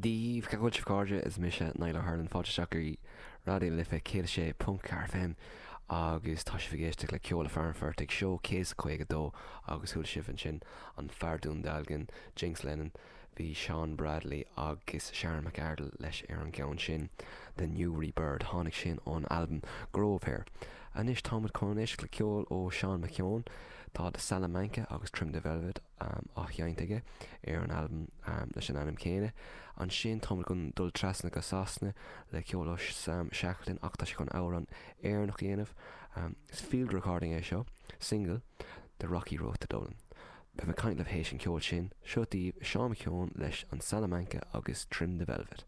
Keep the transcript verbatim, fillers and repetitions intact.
Dia daoibh a chairde is mise Niall Harlan fáilte isteach go Raidió na Life céad sé ponc ceathair FM agus tá sibh ag éisteacht le ceol an Phortaigh seó céad caoga dó agus chuala sibh ansin an fear Dún Dealgan Jinx Lennon bhí Sean Bradley agus Sharon McArdle leis ar an gceann sin The Newry Bird tháinig sin ón album Grove Hair. Anois táimid chun éisteacht le ceol ó Sean McKeown tá de Salamanca agus Trim the Velvet um, á sheinnt aige ar an album um, leis an ainm céanna. Ansin táimid chun dul trasna go Sasana le ceol ó Sam Shackleton ach tá sé chun amhrán Éireannach a dhéanamh. Um, is field recording é seo, single, The Rocky Road to Dublin. Beidh mé ag caint libh théis an ceol sin, seo daoibh Sean McKeown leis an Salamanca agus Trim the Velvet.